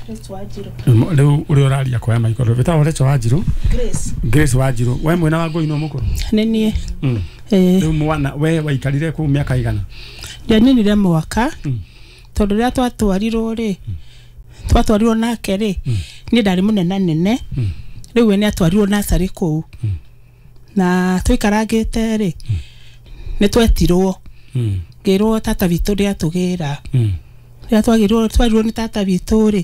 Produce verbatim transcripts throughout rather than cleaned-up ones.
Grace Wanjiru. Rĩu ũrĩa ũraria kwa maikoro wĩtagwo Rachel Wanjiru. Grace. Grace Wanjiru, we mwena wa Ngũi no mũkũrũ? Nĩ niĩ. Mm. Ĩĩ. Rĩu mwana we waikarire kũu mĩaka igana? Ndianinire mwaka Mm. tondũ rĩrĩa twatwarirwo rĩ, twatwarirwo nake rĩ, niĩ ndarĩ mũnenanene. Mm. Rĩu we nĩ atwarirwo nursery kũu. Na tũikarangĩte rĩ, nĩ twetirwo. Mm. Ngĩrwo tata witũ nĩ atũgĩra. Mm. Rĩrĩa twagĩrwo twarirwo nĩ tata witũ rĩ,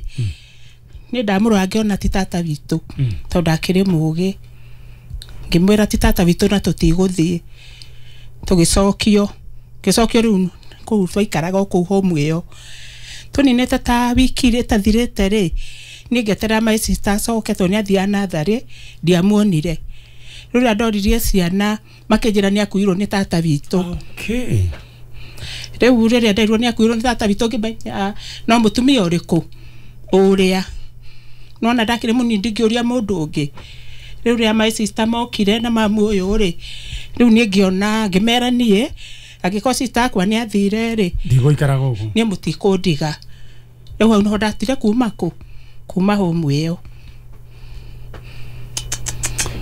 niĩ ndamũrora ngĩona ti tata witũ Mm. tondũ akĩrĩ mũgĩ. Ngĩmwĩra ti tata witũ na tũtigũthiĩ. Tũgĩcokio, ngĩcokio rĩu kũu twaikaraga o kũu home ĩyo. Tũninĩte ta wiki ĩtathirĩte rĩ, niĩ ngĩeterera my sister acoke tondũ nĩ athiaga natharĩ, ndiamuonire. Rĩu rĩrĩa ndoririe ciana makĩnjĩra nĩ akuirwo nĩ tata witũ. Okay. Rĩu rĩrĩa nderirwo nĩ akuirwo nĩ tata witũ ngĩmenya no mũtumia ũrĩkũ ũrĩa. Nona ndakĩrĩ mũnini ndingĩũria mũndũ ũngĩ. Rĩu rĩrĩa my sister mokire na mamu ũyũ rĩ, rĩu niĩ ngĩona ngĩmera niĩ angĩkorwo sister akwa nĩ athire rĩ, Ndigũikara gũkũ. niĩ mũtikũndiga. Rĩu hau nĩho ndatire kuma kũ? Kuma home ĩyo.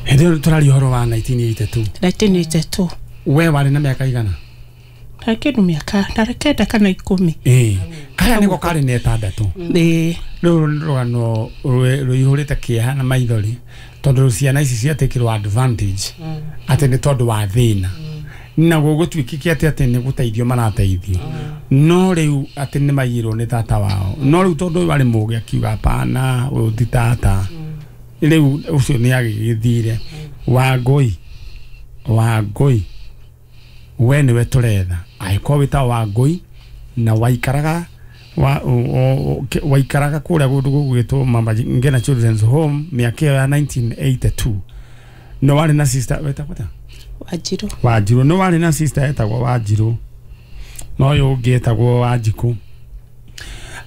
Hĩndĩ ĩyo tũraria ũhoro wa nineteen eighty-two. nineteen eighty-two. We warĩ na mĩaka igana? Ndarĩ kĩndũ mĩaka, ndarĩ kenda kana ikũmi. Ĩĩ. Karĩa nĩko karĩ na ĩtandatũ. Ĩĩ. Rĩu nĩ rũgano rũihũrĩte kĩeha na maithori tondũ ciana ici ciatĩkĩrwo advantage atĩ nĩ tondũ wa thĩna. Na gũgũtuĩkĩke atĩ atĩ nĩ gũteithio marateithio. No rĩu atĩ nĩ maiyĩrwo nĩ tata wao. No rĩu tondũ ũyũ arĩ mũgĩ akiuga hapana, ũyũ ti tata. Rĩu ũcio nĩ agĩgĩthire. Wangũi, Wangũi, we nĩwe tũretha. Angĩkorwo wĩtagwo Wangũi na waikaraga wa, waikaraga kũrĩa kũndũ gũgwĩtwo Mama Ngina Children's Home mĩaka ĩyo ya nineteen eighty-two. No warĩ na sister wetagwo atĩa? Wanjiru. Wanjiru. No warĩ na sister etagwo Wanjiru. No ũyũ ũngĩ etagwo Wanjikũ.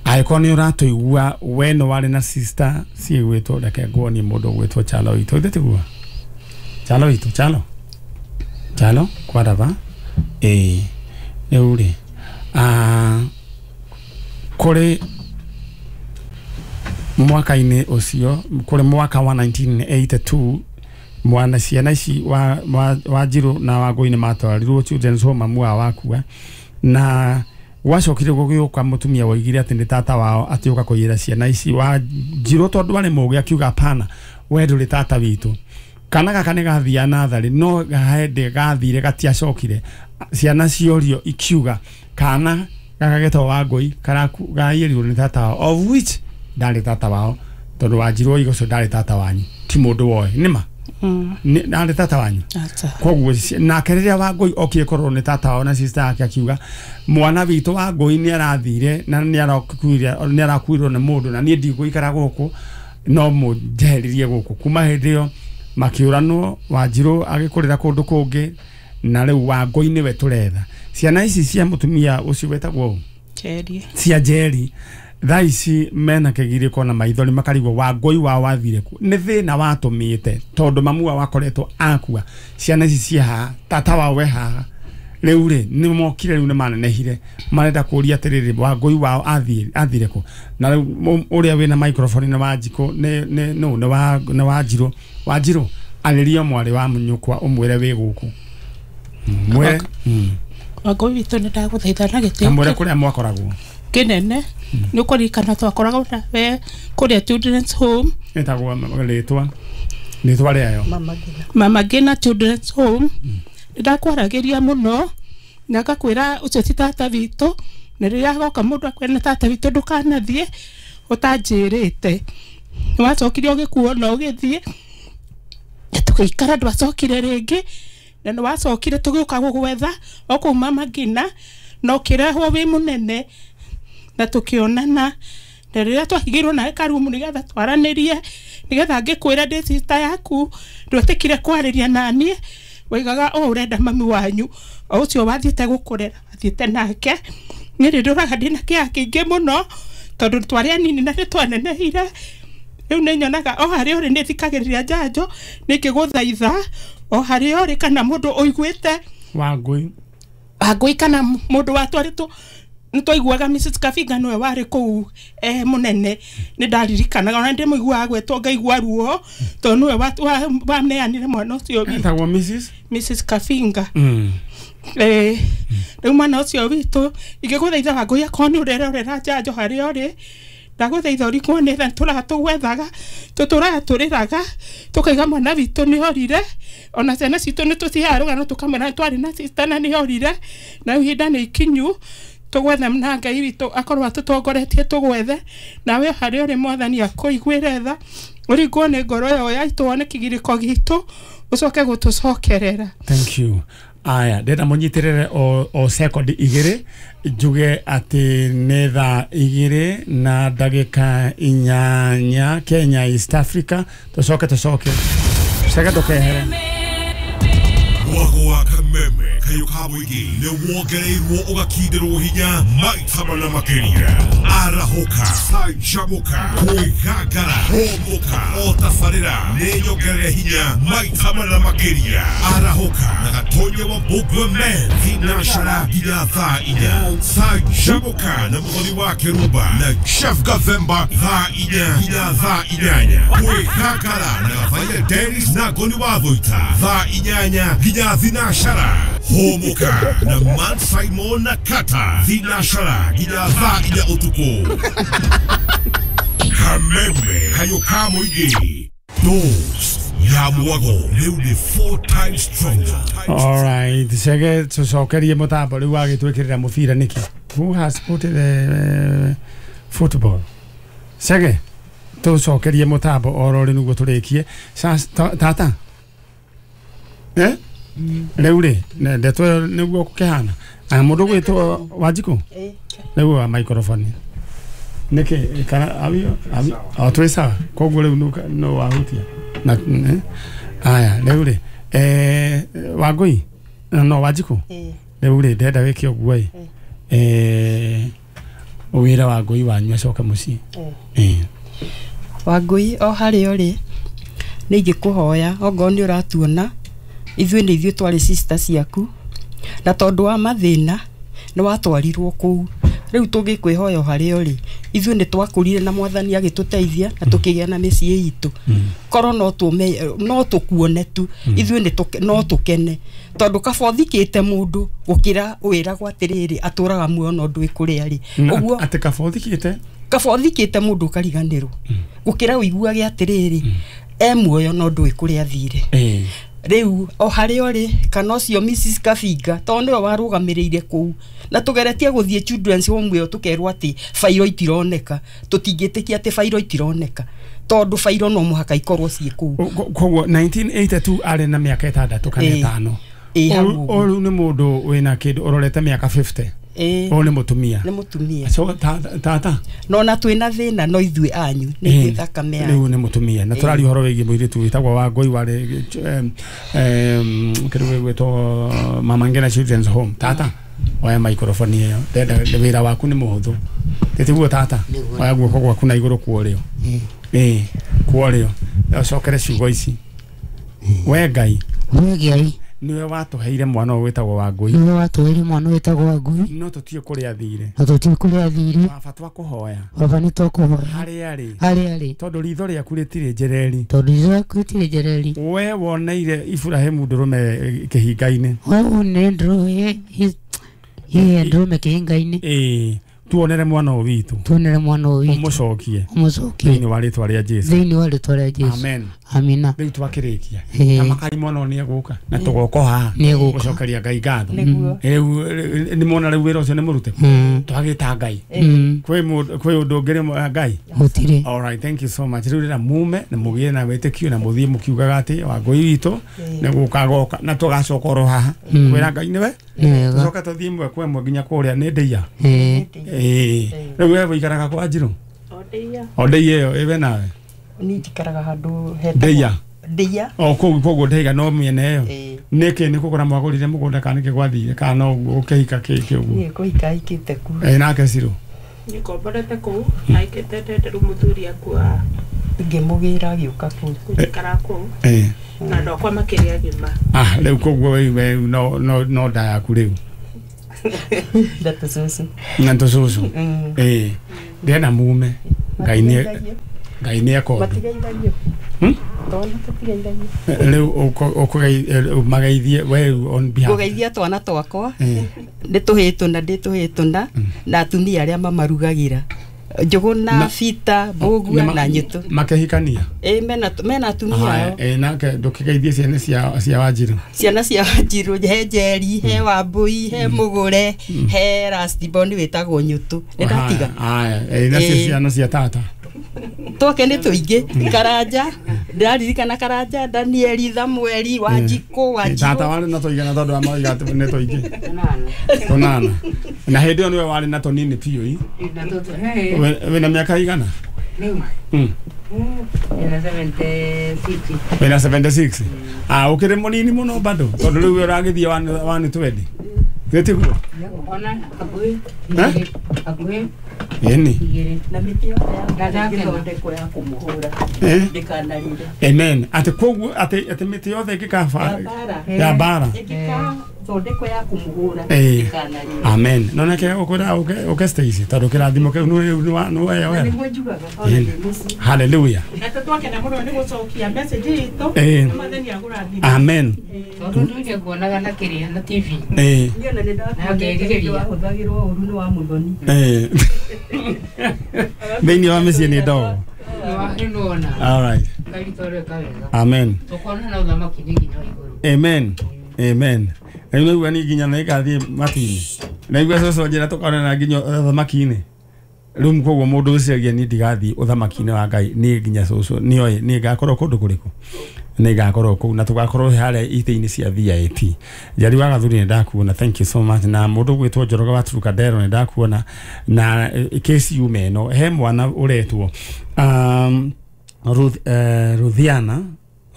Angĩkorwo nĩ ũratũigua we no warĩ na sister ciĩgwĩtwo, reke nguonie mũndũ ũgwĩtwo Chalo witũ. Ithe tiguo? Chalo witũ, Chalo. Chalo kwaraba. Ĩĩ. Rĩu rĩ, ah, kũrĩ mwaka-inĩ ũcio, kũrĩ mwaka wa nineteen eighty-two, mwana ciana ici wa, wa, Wanjiru na Wangũi nĩ matwarirwo Children's Home mamu wao wakua. Na gwacokire gũgĩũka mũtumia woigire atĩ nĩ tata wao atĩũka kũiyĩra ciana ici. Wanjiru tondũ arĩ mũgĩ akiuga hapana, we ndũrĩ tata witũ. Kana gaka nĩ gathiaga natharĩ, no hĩndĩ gathire gatiacokire. Ciana ciorio ikiuga kana gaka getagwo Wangũi karaiyĩrirwo nĩ tata wao, of which ndarĩ tata wao tondũ Wanjiru oiga ũcio ndarĩ tata wanyu, ti mũndũ woĩ. Nĩma? Ndarĩ tata wanyu. Koguo nake rĩrĩa Wangũi okire kũrorwo nĩ tata wao na sister yake akiuga mwana witũ Wangũi nĩ arathire na nĩ arakuire, nĩ arakuirwo nĩ mũndũ na niĩ ndigũikara gũkũ, no mũnjeheririe gũkũ. Kuma hĩndĩ ĩyo makĩũranwo, Wanjiru agĩkũrĩra kũndũ kũngĩ na rĩu Wangũi nĩwe tũretha. Ciana ici cia mũtumia ũcio wetagwo Njeri, cia Njeri thaa ici mena kĩgirĩko na maithori makarigwo Wangũi wao wathire kũ. Nĩ thĩna watũmĩte tondũ mamu wao akoretwo akua. Ciana ici ciĩ haha, tata wao we haha. Rĩu rĩ nĩ mokire, rĩu nĩ manenehire, marenda kũria atĩrĩrĩ Wangũi wao athire kũ. Na rĩu ũrĩa wĩna microphone nĩ Wanjikũ, nĩ nĩ no nĩ wa nĩ Wanjiru. Wanjiru arĩria mwarĩ wa nyũkwa ũmwĩre wĩ gũkũ. Mwĩre Wangũi witũ nĩ ndagũthaitha na gĩtĩo na mwĩre kũrĩa mwakoragwo kĩnene. Nĩ ũkũririkana twakoragwo nawe kũrĩa Children's Home. Ĩtagwo rĩtwa rĩtwa rĩayo Mama Ngina Children's Home. Nĩ ndakwaragĩria mũno na ngakwĩra ũcio ti tata witũ, na rĩrĩa agoka mũndũ akwĩra nĩ tata witũ ndũkanathiĩ ũtanjĩrĩte. Nĩ wacokire ũgĩkuo na ũgĩthiĩ, tũgĩikara ndwacokire rĩngĩ, na nĩ wacokire tũgĩũka gũgwetha o kũu Mama Ngina na ũkĩrehwo wĩ mũnene na tũkĩonana. Na rĩrĩa twahingĩirwo nawe karumu nĩgetha twaranĩrie, nĩgetha ngĩkwĩra ndĩ sister yaku, ndwetĩkire kwarĩria naniĩ, waigaga o ũrenda mami wanyu o ũcio wathiĩte gũkũrera wathiĩte nake. Niĩ nĩ ndũraga ndĩna kĩeha kĩingĩ mũno tondũ twarĩ anini na nĩ twanenehire. Rĩu nĩ nyonaga o harĩa ũrĩ nĩ thikagĩrĩria njanjo, nĩ ngĩgũthaitha o harĩa ũrĩ kana mũndũ ũiguĩte Wangũi, Wangũi kana mũndũ watwarĩtwo Nitwaiguaga Missus Kavinga niwe warĩ kũu eh, mũnene nĩ ndaririkanaga ona ndĩmũiguaga gwetwo ngaigua ruo tondũ niwe waneanire mwana ũcio witũ. Etagwo Missus Missus Kavinga. Mm. Eh, rĩu mwana ũcio witũ ingĩgũthaitha Wangũi akorwo nĩ ũrerorera njanjo harĩa ũrĩ ndagũthaitha ũrigwo nĩ tha tũratũgwethaga tũtũraga tũrĩraga tũkaiga mwana witũ nĩ orire ona ciana citũ nĩ tũciheaga rũgano tũkamwĩra twarĩ na sister na nĩ orire na rĩu ihinda nĩ ikinyu tũgwethe na Ngai witũ akorwo atũtongoretie tũgwethe nawe harĩa ũrĩ Mwathani akũiguĩre tha ũringwo nĩ ngoro ĩyo yaitũ wone kĩgirĩko gitũ ũcoke gũtũcokerera. Thank you. Aya ndenda mũnyitĩrĩre o, o second igĩrĩ njuge atĩ nĩ thaa igĩrĩ na ndagĩka inyanya Kenya East Africa tũcoke tũcoke cege ndũkehere. Mwago wa kameme kayo ka mũingĩ nĩ wongereirwo ũgakindĩrwo hinya maita mana makĩria arahũka canjamũka kwĩgangara hũmũka o tabarĩra nĩ nyongerere hinya maita mana makĩria arahũka na gatonye wa Mbũgua Men thinashara nginya thaa inya canjamũka na mũthoni wa Kĩrumba na Chef Gathemba thaa inya nginya thaa inyanya kwĩgangara na Gathaia Dennis na Ngoni wa Thũita thaa inyanya nginya thinashara hũmũka na Man Simon na Kata thinashara nginya thaa inya ũtukũ. Kameme kayo ka mũingĩ dose ya mwago rĩu nĩ four times stronger. All right, cege tũcokerie mũtambo rĩu wagĩtwĩkĩrĩra mũbira nĩkĩ? Who has put the uh, football? Cege tũcokerie mũtambo oro rĩ nĩguo tũrĩkie. Tata eh rĩu rĩ ndeto ĩyo nĩguo gũkĩhana mũndũ gwĩtwo Wanjikũ rĩu wa microphone nĩkĩ kana awi awi o twĩ sawa koguo rĩu no wahutia na aya rĩu rĩ eh Wangũi no Wanjikũ rĩu rĩ ndenda wĩke ũguo ĩ eh wĩra Wangũi wanyu acoke mũciĩ. Eh Wangũi o harĩa ũrĩ nĩ ingĩkũhoya ongorwo nĩ ũratuona ithuĩ nĩ ithuĩ twarĩ sister ciaku na tondũ wa mathĩna nĩ watwarirwo kũu rĩu tũngĩkwĩhoya o harĩa ũrĩ ithuĩ nĩ twakũrire na Mwathani agĩtũteithia na tũkĩgĩa na mĩciĩ itũ korwo no tũme no tũkuone tu ithuĩ nĩ no tũkene tondũ kaba ũthikĩte mũndũ gũkĩra wĩragwo atĩrĩrĩ atũraga muoyo no ndũĩ kũrĩa arĩ ũguo atĩ kaba ũthikĩte kaba ũthikĩte mũndũ ũkariganĩrwo gũkĩra ũiguage atĩrĩrĩ e muoyo no ndũĩ kũrĩa athire. Rĩu o harĩa ũrĩ kana ũcio Missus Kavinga tondũ nĩwe warũgamĩrĩire kũu na tũgeretie gũthiĩ children's home ĩyo tũkerwo atĩ bairo itironeka tũtingĩtĩkia atĩ bairo itironeka tondũ bairo no mũhaka ikorwo ciĩ kũu. Koguo nineteen eighty-two arĩ na mĩaka ĩtandatũ kana ĩtano ũrĩu nĩ mũndũ wĩna kĩndũ ũrorete mĩaka fifty ũyũ nĩ mũtumia nĩ mũtumia so tata no na twĩna thĩna no ithuĩ anyu nĩ ithuĩ thakame yanyu rĩu nĩ mũtumia na tũraria ũhoro wĩgiĩ mũirĩtu wĩtagwo Wangũi warĩ kĩndũ gĩgwĩtwo Mama Ngina Children's Home. Tata oya microphone ĩyo ndenda wĩra waku nĩ mũhũthũ tĩtiguo tata oya guoko gwaku na igũrũ kuorĩo ĩĩ kuorĩo ũcokere ciugo ici we Ngai we Ngai niwe watũheire mwana ũyũ wĩtagwo Wangũi niwe watũheire mwana wĩtagwo Wangũi no tũtiĩ kũrĩa athire no tũtiĩ kũrĩa athire baba twakũhoya baba nĩ twakũhoya harĩa arĩ harĩa arĩ tondũ ritho rĩaku rĩtirĩ njereri tondũ ritho rĩaku rĩtirĩ njereri we woneire Iburahĩmu ndũrũme kĩhinga-inĩ we woneire ndũrũme ndũrũme kĩhinga-inĩ ĩĩ tuonere mwana ũyũ witũ tuonere mwana ũyũ witũ ũmũcokie ũmũcokie thĩinĩ wa rĩtwa rĩa Jesũ thĩinĩ wa rĩtwa rĩa Jesũ amen amina rĩu twakĩrĩkia na makai mwana ũyũ nĩegũka na tũgoka haha gũcokeria Ngai ngatho rĩu nĩ mona rĩu wĩra ũcio nĩ mũrute twagĩta Ngai kwĩ kwĩ ũndũ ũngĩ Ngai gũtirĩ. All right, thank you so much. Rĩu rĩra mume na mũgĩe na wĩtĩkio na mũthiĩ mũkiugaga atĩ Wangũi witũ nĩ gũka agoka na tũgacoka oro haha kwĩra Ngai nĩwe tũcoke tũthiĩ ĩmwe kwa ĩmwe nginya kũrĩa nĩ ndĩia ĩĩ rĩu we wĩikaraga kwa Njirũ o ndĩia ĩyo ĩwe nawe niĩ njikaraga handũ hetagwo ndĩia ndĩia o kũu koguo ndĩiga no mĩena ĩyo nĩkĩ nĩ kũgũra mwagũrire mũgũnda kana nĩkĩ gwathire kana no ũguo ũkĩhika kĩkĩ ũguo niĩ kũhika hikĩte kuo ĩ nake Cirũ nĩngomborete kũu aikĩte ndende rĩu mũthuri akua ngĩmũgĩra agĩũka kũu gũikara kũu na ndokwa makĩria agima ah rĩu koguo we no no no nda yaku rĩu Na tũcũcũ. Na tũcũcũ. Ĩĩ. Ndĩrenda mume. Ngai nĩ Ngai nĩ akondu. Matigeithagio. Hmm? Twana tũtigeithagio. Rĩu ũkũgeithie we on behalf. Ngũgeithia twana twakwa. Nĩ tũhĩĩ tũna ndĩ tũhĩĩ tũna na atumia arĩa mamarugagĩra. Njũgũna, Bita, Mbũgua na Nyĩtũ. Makĩhikania? Ĩĩ mena mena atumia ao. Ĩĩ nake ndũkĩgeithie ciana cia cia Wanjirũ. Ciana cia Wanjirũ he Njeri, he Wambũi, he Mũgũre, he Rastiboni wĩtagwo Nyũtũ. Nĩ ndatiga. Haya, ĩĩ nacio ciana cia tata. Twake nĩ tũingĩ. Karanja, ndĩraririkana Karanja, Danieli, Samueli, Wanjikũ, Wanjirũ. Tata warĩ na tũigana tondũ amauga atĩ nĩ tũingĩ. Tũnana. Na hĩndĩ ĩyo nĩwe warĩ na tũnini biũ ĩ. Wĩna mĩaka igana? Rĩu. Mm. Wĩna seventy-six. Wĩna seventy-six. Ah, ũkĩrĩ mũnini mũno bado tondũ rĩu ũragĩthiĩ one twenty. Gĩtiguo? Ona hakuhĩ igĩrĩ, hakuhĩ Ĩni. igĩrĩ. Na mĩtĩ yothe ya ĩthondekwo ya kũmũhũra. Ndĩkanarire. Amen. Atĩ koguo atĩ atĩ mĩtĩ yothe ĩngĩkaba ya mbara. Ĩngĩkathondekwo ya kũmũhũra ndĩkanarire. Amen. No nake ũkwĩra ũke ũke Stacy tondũ kĩrathimo kĩu nĩ nĩ weyoera. Nĩguo njugaga ona ndĩ mũciĩ. Hallelujah. Na twakena mũno nĩ gũcokia message itũ. Nĩ Mwathani agũrathime. Amen. Tondũ ndũire nguonaga na kĩrĩa na T V. Ĩĩ. Niĩ ona nĩ ndakuonete wahũthagĩrwo ũru nĩ wa Mũthoni. Ĩĩ. Thĩinĩ wa mĩciĩ nĩ ndogo. All right. Amen. Amen. Amen. Rĩu nĩguo niĩ nginya nĩngathiĩ matu-inĩ. Naigua cũcũ anjĩra tũkonana nginya ũthamaki-inĩ. Rĩu koguo mũndũ ũciagia niĩ ndigathiĩ ũthamaki-inĩ wa Ngai niĩ nginya cũcũ nĩoĩ niĩ ngakorwo kũndũ kũrĩkũ. Nĩ ngakorwo kũu na tũgakorwo harĩa itĩ-inĩ cia V I P. Njeri wa Gathuri nĩ ndakuona, thank you so much. Na mũndũ ũgwĩtwo Njoroge wa Trukadero nĩ ndakuona. Na kesi yume ĩno he mwana ũretwo um, Ruth, uh, Ruthiana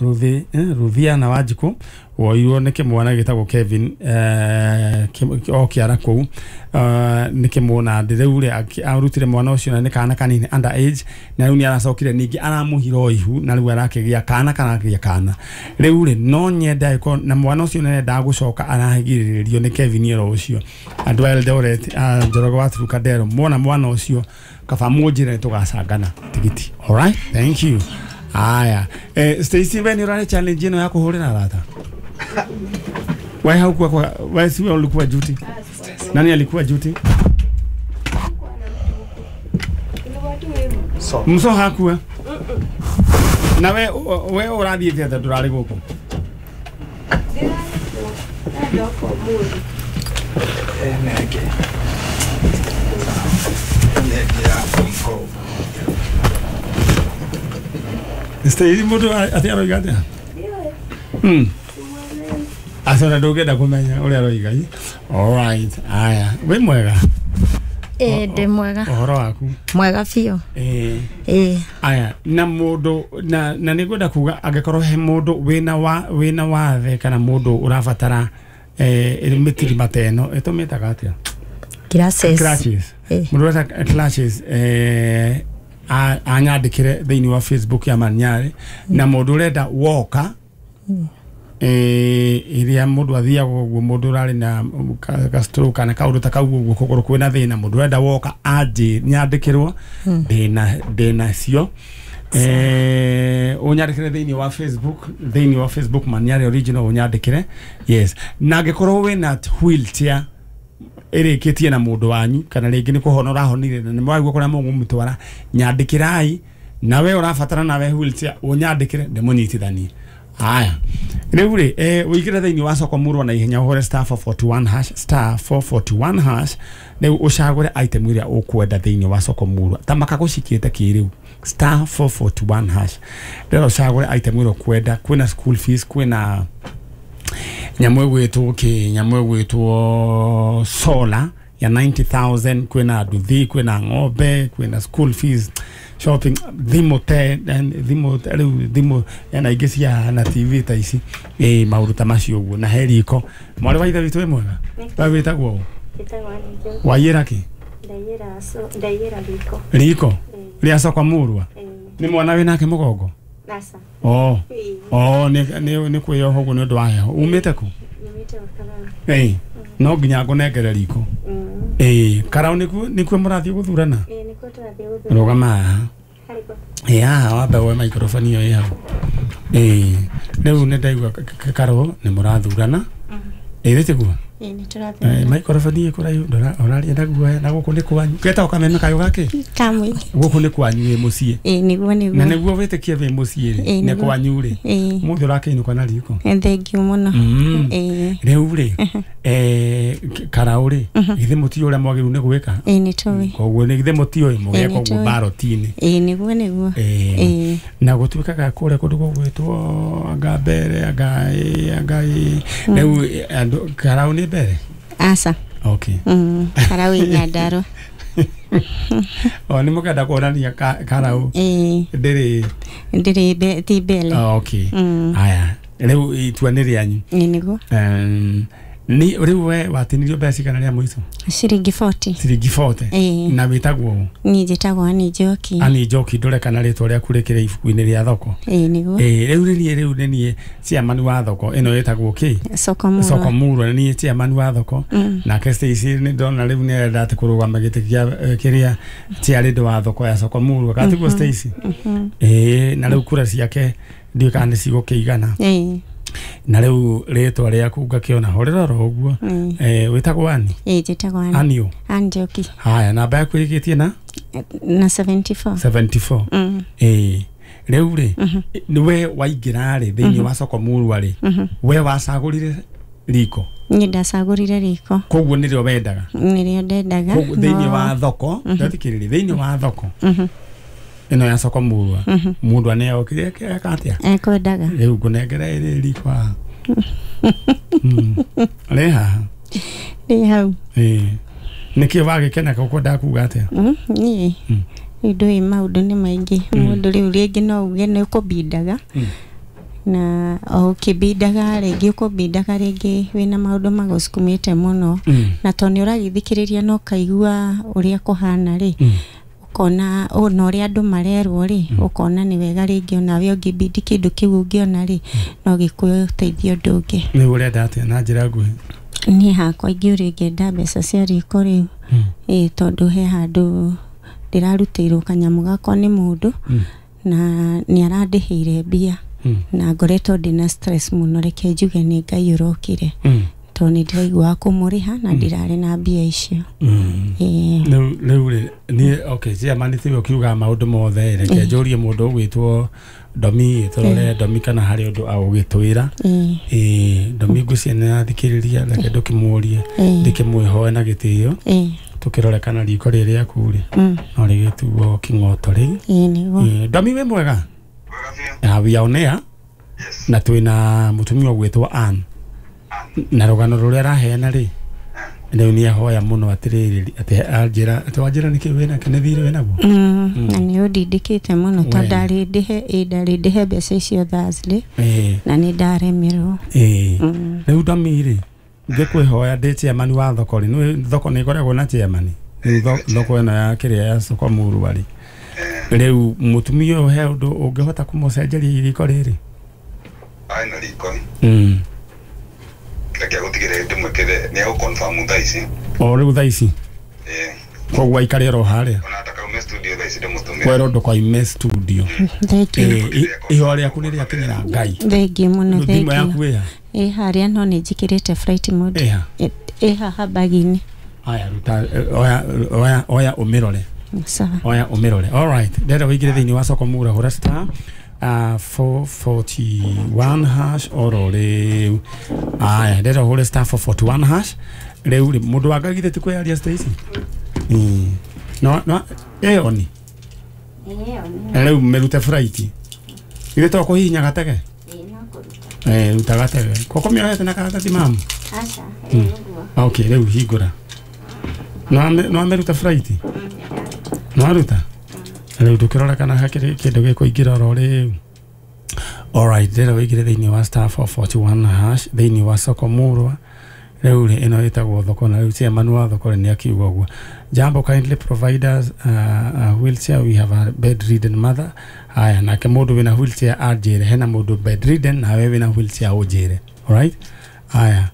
Ruthi, eh, Ruthiana Wanjikũ woirwo nĩ kĩmwana gĩtagwo Kevin eh, o kĩara kũu uh, nĩ kĩmũnandĩ rĩu rĩ arutire mwana ũcio na nĩ kana kanini under age na rĩu nĩ aracokire ningĩ aramũhira o ihu na rĩu arakĩgĩa kana karakĩgĩa kana rĩu rĩ no nyende angĩkorwo na mwana ũcio nĩarendaga gũcoka aragirĩrĩrio nĩ Kevin oro ũcio andũ a Eldoret Njoroge wa Trukadero mona mwana ũcio kaba mũnjĩre tũgacangana tigiti. All right, thank you. Aya, eh, Stacy we nĩ ũrarĩ challenge ĩno ya kũhũrĩra arata? Wewe haukuwa kwa wewe si wewe ulikuwa duty? Nani alikuwa duty? So. Mso hakuwa. Na we we ũrathiĩte atĩa ndũrarĩ gũkũ? Nenge. Nenge ya mko. Stacy mũndũ atĩ aroiga atĩa? Mm. Aca ndũngĩenda kũmenya ũrĩa aroiga. All right. Aya, wĩ mwega? Ĩĩ ndĩ mwega. Ũhoro waku? Mwega biũ. Ĩĩ. Ĩĩ. Aya, na mũndũ na na nĩngwenda kuga angĩkorwo he mũndũ wĩna wa wĩna wathe kana mũndũ ũrabatara eh mĩtirima ta ĩno ĩtũmĩtaga atĩa? Classes. Classes. Mũndũ ũreta classes eh anyandĩkĩre thĩinĩ wa Facebook ya Manyarĩ na mũndũ ũrenda woka eh iria mũndũ athiaga ũguo mũndũ ũrarĩ na ka stroke kana kaũndũ ta kau ũguo kũgũrũ kwĩna thĩna mũndũ ũrenda woka anjĩ nyandĩkĩrwo ndĩna ndĩna cio eh ũnyandĩkĩre thĩinĩ wa Facebook thĩinĩ wa Facebook Manyarĩ original ũnyandĩkĩre. Yes, na angĩkorwo wĩna wheelchair ĩrĩkĩtie na mũndũ wanyu kana rĩngĩ nĩ kũhona ũrahonire na nĩ mwaigua kũrĩa mũgũmũtwara nyandĩkĩrai na we ũrabatara nawe wheelchair ũnyandĩkĩre ndĩmũnyitithanie. Aya, rĩu rĩ eh ũingĩre thĩinĩ wa soko mũrwa na ihenya ũhũre star four forty-one hash star four forty-one hash rĩu ũcagũre item ĩrĩa ũkwenda thĩinĩ wa soko mũrwa ta makagũcikĩte kĩrĩu star four forty-one hash rĩu ũcagũre item ĩrĩa ũkwenda kwĩna school fees kwĩna nyamũ ĩgwĩtwo kĩ nyamũ ĩgwĩtwo solar ya ninety thousand kwĩna nduthi kwĩna ng'ombe kwĩna school fees shopping thimũ te thimũ rĩu thimũ ena ingĩ cia na T V ta ici ĩ maũndũ ta macio ũguo na he riko mwarĩ wa ithe witũ wĩ mwega we wĩtagwo ũ? Waiyĩra kĩ? Ndaiyĩra riko. Riko rĩa soko mũrwa nĩ mwana wĩnake mũgongo? Oh, oh, nĩ nĩ nĩ kwĩyoha ũguo nĩ ũndũ wa heho. Umĩte kũ? Nyumĩte Ũkaranga. Ĩĩ. No nginya ngũnengere riko. Ĩĩ Karau nĩkuo nĩkuo mũrathiĩ gũthurana? Ĩĩ nĩkuo tũrathiĩ gũthurana. Rũgama haha. Ĩĩ haha wambe woe microphone ĩyo ĩ hau. Ĩĩ rĩu nĩ ndaigua Karau nĩ mũrathurana. Ĩĩ tiguo? Ĩĩ nĩ tũrathurana. Microphone ĩ kũraihu ũraria na guoya na gũkũ nĩ kwanyu. Getagwo kameme kayũ gakĩ? Kamũingĩ. Gũkũ nĩ kwanyu wĩ mũciĩ. Ĩĩ nĩguo nĩguo. Na nĩguo wĩtĩkie wĩ mũciĩ rĩ nĩ kwanyu rĩ. Mũthĩ ũrakĩinũka na riko. Thank you mũno. Ĩĩ. Rĩu rĩ eh Karau rĩ githĩ mũtiũĩ ũrĩa mwagĩrĩirwo nĩ gwĩka? Ĩĩ nĩ tũĩ. Koguo nĩ githĩ mũtiũĩ mũgeka ũguo baroti-inĩ. Ĩĩ nĩguo nĩguo. Ĩĩ. Na gũtuĩkaga kũrĩa kũndũ gũgwĩtwo anga mbere anga ĩ anga ĩ rĩu andũ Karau nĩ mbere? Aca. Okay. Mm, Karau ĩ Nyandarua. O nĩ mũkenda kuonania Karau ĩĩ ndĩrĩ ndĩrĩ ti mbere. Okay. Haya rĩu itua nĩ rĩanyu. Ĩĩ nĩguo. Ni rĩu we watinirio mbeca cigana rĩa mũico? Ciringi forty. Ciringi forty. Na wĩtagwo ũ? Niĩ njĩtagwo Annie Njoki. Annie Njoki ndũre kana rĩtwa rĩaku rĩkĩrĩ ibuku-inĩ rĩa thoko? Ĩĩ nĩguo. Ĩĩ rĩu nĩ niĩ rĩu nĩ niĩ chairman wa thoko ĩno ĩtagwo kĩ? Soko Murwa. Soko Murwa nĩ niĩ chairman wa thoko. Nake Stacy nĩ ndona rĩu nĩ arenda atĩ kũrũgama gĩtĩ kĩa kĩrĩa chairlady wa thoko ya Soko Murwa gatiguo Stacy? Ĩĩ na rĩu kura ciake ndiũĩ kana nĩ cigũkĩigana. Ĩĩ. Na rĩu rĩtwa rĩaku ngakĩona horera oro ũguo. Eh wĩtagwo Annie? Ĩĩ njĩtagwo Annie. Annie ũ? Annie Njoki. Haya namba yaku ĩrĩkĩtie na? Na seventy-four. seventy-four. Ĩĩ rĩu rĩ we waingĩra rĩ thĩinĩ wa Soko Murwa rĩ we wacagũrire riko? Niĩ ndacagũrire riko. Koguo nĩrĩo wendaga? Nĩrĩo ndendaga. Koguo thĩinĩ wa thoko ndathikĩrĩria thĩinĩ wa thoko ĩno ya Soko Murwa mũndũ nĩokire eka atĩa? Ekwendaga. Rĩu ngũnengera ĩrĩ riko haha. Rĩ haha? Rĩ hau. Ĩĩ. Nĩkĩ wagĩkena ũkwendaga kuga atĩa? Niĩ rĩu ndũĩ maũndũ nĩ maingĩ mũndũ rĩu rĩngĩ no uge nĩ ũkũbindaga na o ũkĩbindaga rĩngĩ ũkũbindaga rĩngĩ wĩna maũndũ magũsukumĩte mũno na tondũ nĩ ũragĩthikĩrĩria na ũkaigua ũrĩa kũhana rĩ ũkona ona ũrĩa andũ marerwo rĩ ũkona nĩ wega rĩngĩ onawe ũngĩbindi kĩndũ kĩu ũngĩona rĩ no gĩkũteithie ũndũ ũngĩ. Nĩ ũrenda atĩa na njĩra nguhĩ? Niĩ hakwa ingĩũria ingĩenda mbeca cia riko rĩu ĩĩ tondũ he handũ ndĩrarutĩirwo kanyamũ gakwa nĩ mũndũ na nĩ arandĩhĩire mbia na ngoretwo ndĩna stress mũno reke njuge nĩ Ngai ũrokire tondũ nĩ ndĩraiguaga kũmũrĩha na ndirarĩ na mbia icio. Rĩu rĩu rĩ niĩ okay chairman tiwe ũkiugaga maũndũ mothe reke njũrie mũndũ ũgwĩtwo Domi tũrore Domi kana harĩ ũndũ agũgĩtwĩra. Ĩĩ Domi ngwĩciria nĩ arathikĩrĩria reke ndũkĩmũrie ndĩkĩmwĩhoe na gĩtĩo tũkĩrore kana riko rĩrĩ rĩaku rĩ no rĩgĩtuo kĩng'oto rĩ. Ĩĩ nĩguo. Domi wĩ mwega? We are on air na twĩna mũtumia ũgwĩtwo Ann na rũgano rũrĩa araheana rĩ rĩu nĩ ahoya mũno atĩrĩrĩ atĩ anjĩra atĩ wanjĩra nĩkĩ wĩnake nĩ thirĩ wĩnaguo na nĩ ũndindĩkĩte mũno tondũ ndarĩ ndĩhe ĩ ndarĩ ndĩhe mbeca icio Thursday na nĩ ndaremirwo. Ĩĩ rĩu Domi rĩ ngĩkwĩhoya ndĩ chairman wa thoko rĩ nĩ thoko nĩ ĩkoragwo na chairman rĩu thoko ĩno ya kĩrĩa ya Soko Murwa rĩ rĩu mũtumia ũyũ he ũndũ ũngĩhota kũmũcenjeria iriko rĩrĩ? Aĩ na riko reke gũtigĩrĩra ndĩmwĩkĩre nĩ egũconfirm thaa ici. O rĩu thaa ici? Ĩĩ. Koguo aikare oro harĩa? Ona atakaume studio thaa ici ndĩmũtũmĩre. Kwerwo ndũkoime studio. Thank you. Ihoya rĩaku nĩ rĩakinyĩra Ngai. Thank you mũno. Thimũ yaku ĩha? Ĩ harĩa no nĩ njĩkĩrĩte flight mode. Ĩha? Ĩ haha bag-inĩ. Haya ruta oya oya oya ũmĩrore. Sawa. Oya ũmĩrore. All right. Ndĩrenda wĩingĩre thĩinĩ wa Soko Murwa hũra star Uh, four forty-one hash oro rĩu. Aya ndĩrenda ũhũre star four forty-one hash rĩu rĩ mũndũ wa Ngai githĩ ti kwĩyaria Stacy? No no ĩyo ni rĩu mĩrute flight githĩ to kũhihinya gatege? Eh ruta gatege koko mĩohete na karatathi mamu? Aca ĩĩ ũguo. Okay rĩu hingũra no amĩruta flight no aruta rĩu ndũkĩrora kana hakĩrĩ kĩndũ gĩkũingĩra oro rĩu. Alright ndĩrenda wĩingĩre thĩinĩ wa star four forty-one hash thĩinĩ wa Soko Murwa rĩu rĩ ĩno ĩtagwo thoko na rĩu chairman wa thoko rĩ nĩ akiuga ũguo. Jambo, kindly provide us uh, a wheelchair, we have a bedridden mother. Haya nake mũndũ wĩna wheelchair anjĩre hena mũndũ bedridden nawe wĩna wheelchair ũnjĩre. Alright haya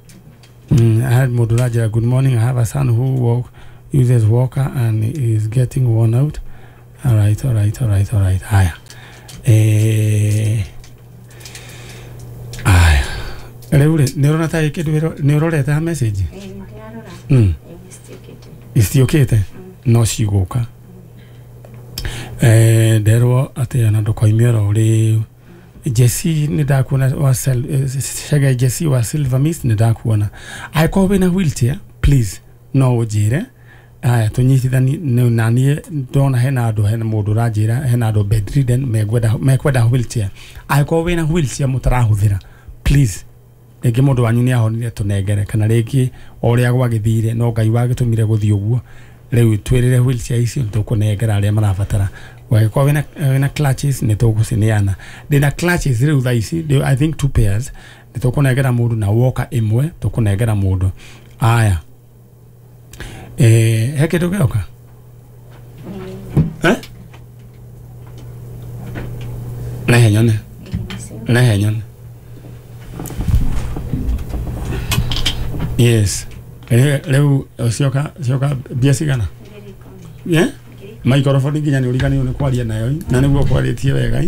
Mm, I had mũndũ ũranjĩra good morning, I have a son who walk, uses walker and is getting worn out. All right, all right, all right, all right. Haya. Eh, aya. Rĩu rĩ, nĩ ũrona ta kĩndũ nĩ ũrorete ha message? Mm. Iciũkĩte no cigũka. Eh, nderwo atĩ ona ndũkoime oro rĩu. Jesse nĩ ndakuona wa Shege Jesse wa Silver Mist nĩ ndakuona. Angĩkorwo wĩna wheelchair please no ũnjĩre. Aya tũnyitithani na niĩ ndona hena andũ hena mũndũ ũranjĩra hena andũ bedridden mekwenda mekwenda wheelchair. Angĩkorwo wĩna wheelchair mũtarahũthĩra please rĩngĩ mũndũ wanyu nĩ ahonire tũnengere kana rĩngĩ o ũrĩa gwagĩthire no Ngai wagĩtũmire gũthiĩ ũguo rĩu twĩrĩre wheelchair icio tũkũnengera arĩa marabatara. Wagĩkorwo wĩna wĩna clutches nĩ tũgũcineana. Ndĩna clutches rĩu thaa ici I think two pairs nĩ tũkũnengera mũndũ na walker ĩmwe tũkũnengera mũndũ. Aya. Eh, he kĩndũ gĩoka? Eh? Rehe nyone. Rehe nyone. Yes. Rĩu cioka cioka mbia cigana? Yeah? Microphone nginya nĩ ũriganĩirwo nĩ kwaria nayo na nĩguo kwarĩtie wega.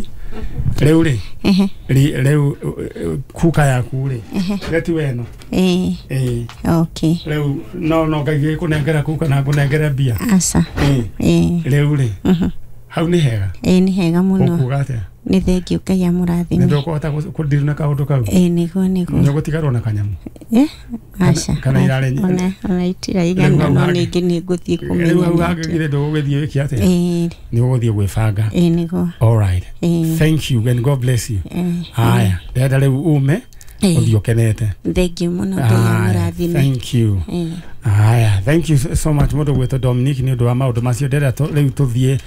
Rĩu rĩ rĩu kuka yaku rĩ reti weno. Eh. Eh. Okay. Rĩu no no Ngai gĩkũnengera kuka na ngũnengere mbia. Aca. Eh. Eh. Rĩu rĩ hau nĩ hega? Eh, nĩ hega mũno. Ũkuga atĩa? Nĩ thengiũ Ngai amũrathime. Nĩ ndũkũhota kũndirwo na kaũndũ kau? Eh, nĩguo nĩguo. Nĩ ũgũtigarwo na kanyamũ? Eh, aca. Kana irarĩ ona ona itiraigana no ningĩ nĩ ngũthiĩ kũmenya. Rĩu hau hangĩgire ndũgũgĩthiĩ wĩke atĩa? Eh. Nĩ ũgũthiĩ gwĩbanga. Eh, nĩguo. All right. Eh. Thank you and God bless you. Eh. Haya, ndĩrenda rĩu ume ũthiĩ ũkenete. Thengiũ mũno Ngai amũrathime. Thank you. Eh. Haya, thank you so much mũndũ gwĩtwo Dominic nĩ ũndũ wa maũndũ macio. Ndĩrenda rĩu tũthiĩ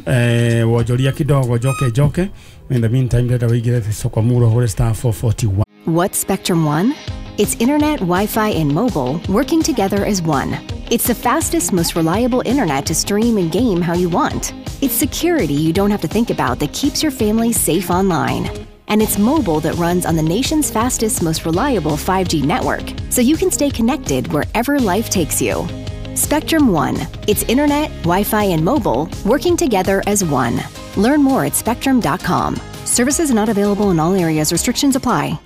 eh wonjoria kidogo njoke njoke. In the meantime ndĩrenda wĩingĩre soko muro hũre star four forty-one. What's Spectrum One? It's internet, Wi-Fi, and mobile working together as one. It's the fastest, most reliable internet to stream and game how you want. It's security you don't have to think about that keeps your family safe online. And it's mobile that runs on the nation's fastest, most reliable five G network, so you can stay connected wherever life takes you. Spectrum One. It's internet, Wi-Fi, and mobile working together as one. Learn more at spectrum dot com. Services not available in all areas. Restrictions apply.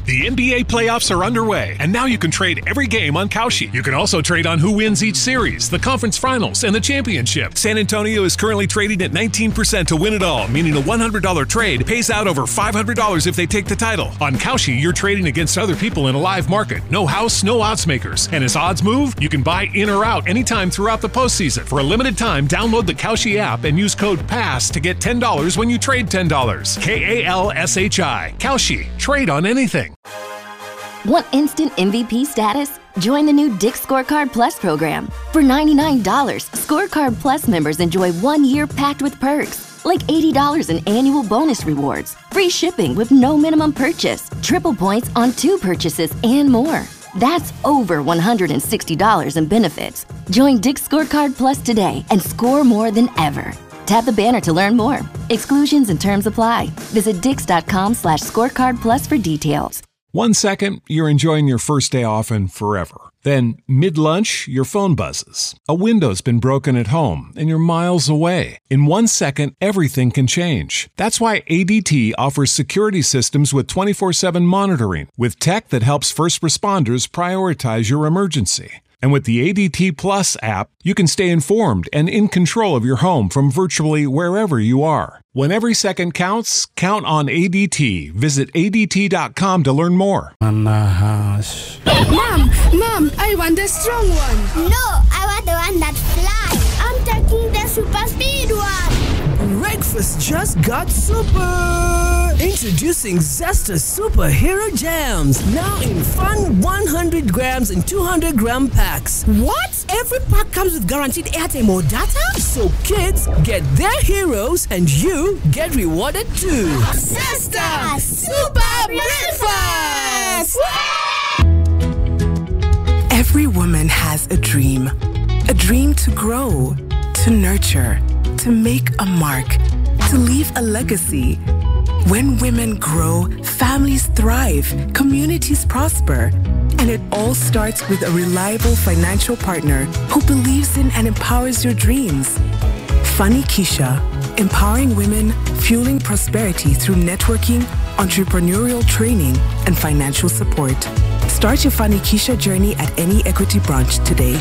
The N B A playoffs are underway, and now you can trade every game on Kalshi. You can also trade on who wins each series, the conference finals, and the championship. San Antonio is currently trading at nineteen percent to win it all, meaning a one hundred dollar trade pays out over five hundred dollars if they take the title. On Kalshi, you're trading against other people in a live market. No house, no odds makers. And as odds move, you can buy in or out anytime throughout the postseason. For a limited time, download the Kalshi app and use code PASS to get ten dollars when you trade ten dollars. K A L S H I. Kalshi. Trade on anything. Want instant M V P status? Join the new Dick's Scorecard Plus program. For ninety-nine dollars, Scorecard Plus members enjoy one year packed with perks, like eighty dollars in annual bonus rewards, free shipping with no minimum purchase, triple points on two purchases, and more. That's over one hundred sixty dollars in benefits. Join Dick's Scorecard Plus today and score more than ever. Tap the banner to learn more. Exclusions and terms apply. Visit dicks.com slash scorecard plus for details. One second, you're enjoying your first day off and forever. Then, mid-lunch, your phone buzzes. A window's been broken at home, and you're miles away. In one second, everything can change. That's why A D T offers security systems with twenty-four seven monitoring, with tech that helps first responders prioritize your emergency. And with the A D T Plus app, you can stay informed and in control of your home from virtually wherever you are. When every second counts, count on A D T. Visit A D T dot com to learn more. Mom, Mom, I want the strong one. No, I want the one that flies. I'm taking the super speed one. Breakfast just got super. Introducing Zesta Superhero Jams, now in fun one hundred grams and two hundred gram packs. What? Every pack comes with guaranteed airtime or data? So kids get their heroes and you get rewarded too. Zesta Super Breakfast! Every woman has a dream. A dream to grow, to nurture, to make a mark, to leave a legacy. When women grow, families thrive, communities prosper. And it all starts with a reliable financial partner who believes in and empowers your dreams. Fanikisha, empowering women, fueling prosperity through networking, entrepreneurial training, and financial support. Start your Fanikisha journey at any Equity branch today.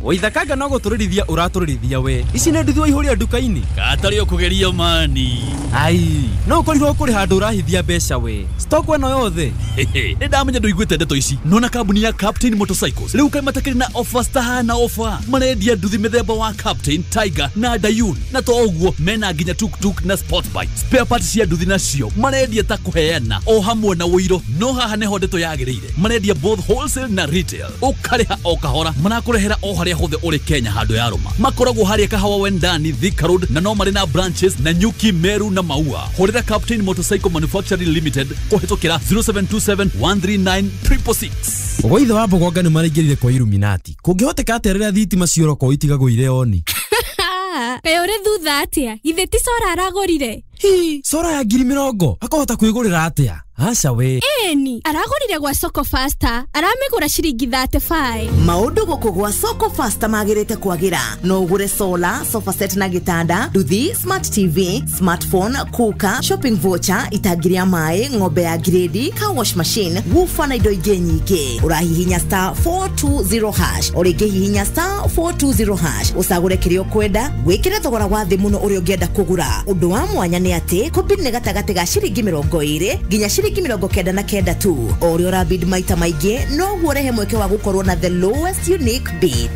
Waithakaga no gũtũrĩrithia ũratũrĩrithia we ici nĩ nduthi waihũria nduka-inĩ katarĩ ũkũgeria mani ai no ũkorirwo kũrĩ handũ ũrahithia mbeca we stock ĩno yothe nĩ ndamenya ndũiguĩte ndeto ici nona kambuni ya Captain Motorcycles rĩu kaĩ matakĩrĩ na offers tahana offer marendia nduthi mĩthemba wa Captain Tiger na Dayun na to ũguo mena nginya tuktuk na sport bike spare parts cia nduthi nacio marendia ta kũheana o hamwe na ũiro no haha nĩho ndeto yagĩrĩire marendia both wholesale na retail ũkarĩha o kahora marakũrehera o harĩa hothe ũrĩ Kenya handũ ya rũma makoragwo harĩa Kahawa Wendani Thika Road na no marĩ na branches na Nyuki Meru na Maua hũrĩra Captain Motorcycle Manufacturing Limited kũhĩtũkĩra zero seven two seven one three nine triple six Ũgũithe wa Mbogonga nĩ maraingĩrire kwa Illuminati kũngĩhoteka atĩa rĩrĩa thitima cioroko itigagwo irĩ oni Kaĩ ũrĩ thutha atĩa githĩ ti cora aragũrire hi cora ya ngiri mĩrongo akahota kwĩgũrĩra atĩa aca we ĩni aragũrire gwa Soko Faster aramĩgũra ciringi thirty-five maũndũ gũkũ gwa Soko Faster magĩrĩte kwagĩra no ũgũre solar sofa set na gĩtanda nduthi smart T V smartphone cooker shopping voucher itangi rĩa maĩ ng'ombe ya grade car wash machine woofer na indo ingĩ nyingĩ ũrahihinya star four two zero hash o rĩngĩ hihinya star four two zero hash ũcagũre kĩrĩa ũkwenda wĩkĩre thogora wa thĩ mũno ũrĩa ũngĩenda kũgũra ũndũ wa mwanya nĩ atĩ kũbid nĩ gatagatĩ ga ciringi mĩrongo ĩrĩ nginya ciringi mĩrongo kenda na kenda tu o ũrĩa ũrabid maita maingĩ noguo ũrehe mweke wa gũkorwo na the lowest unique bid.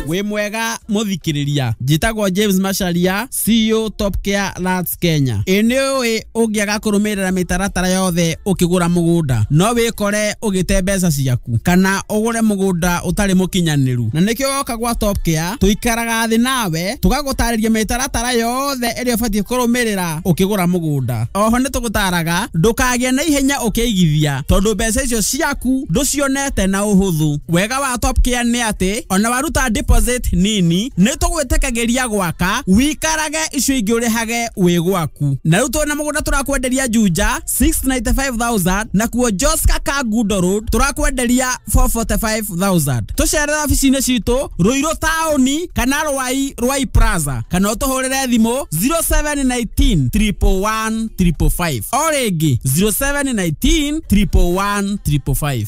Wĩ mwega mũthikĩrĩria njĩtagwo James Macharia C E O Top Care Lands Kenya ĩ nĩ ũĩ ũngĩaga kũrũmĩrĩra mĩtaratara yothe ũkĩgũra mũgũnda no wĩkore ũgĩte mbeca ciaku kana ũgũre mũgũnda ũtarĩ mũkinyanĩru na nĩkĩo woka gwa Top Care tũikaraga thĩ nawe tũgagũtarĩria mĩtaratara yothe ĩrĩa ũbatiĩ kũrũmĩrĩra ũkĩgũra mũgũnda oho nĩ tũgũtaraga ndũkagĩe na ihenya ũkĩigithia tondũ mbeca icio ciaku ndũcionete na ũhũthũ wega wa Top Care nĩ atĩ ona waruta deposit nini nĩ tũgwĩtĩkagĩria gwaka wikarage icio ingĩ ũrĩhage wĩ gwaku na rĩu twĩna mũgũnda tũrakwenderia Juja six ninety-five thousand na kuo Joska Kangundo Road tũrakwenderia four forty-five thousand tũcerere obici-inĩ citũ Ruiru taũni kana Rwai Rwai Plaza kana ũtũhũrĩre thimũ zero seven one nine triple one triple five o rĩngĩ zero seven one nine triple one triple five.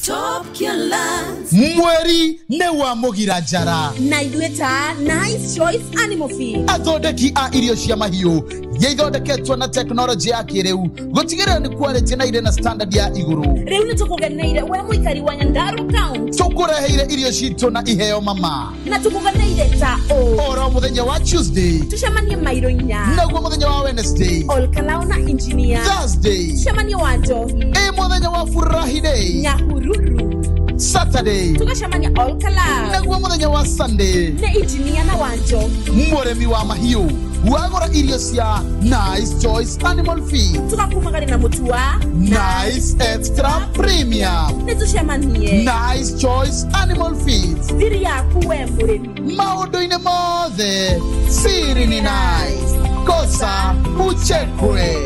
Mweri nĩ wa mũgira njara na ithuĩ ta Nice Choice Animal Feed athondeki a irio cia mahiũ iria ithondeketwo na tekinoronjĩ ya kĩrĩu gũtigĩrĩra nĩ quality na irĩ na standard ya igũrũ rĩu nĩ tũkũgeneire we mũikari wa Nyandarua County tũkũreheire irio citũ na iheo mama na tũkũgeneire ta ũ oro mũthenya wa Tuesday tũcemanie mairo inya naguo mũthenya wa Wednesday Olkalao na engineer Thursday tũcemanie wa Njohi ĩ mũthenya wa Furahi Day Nyahururu Saturday tugacemania Olkalao naguo mũthenya wa Sunday nĩ engineer na wa Njohi mũrĩmi wa mahiũ wagũra irio cia Nice Choice Animal Feed tugakumagari na mũtu wa Nice Extra Premium nĩ tũcemanie Nice Choice Animal Feed thiri yaku we mũrĩmi maũndũ-inĩ mothe siri ni nice kosa uchekwe.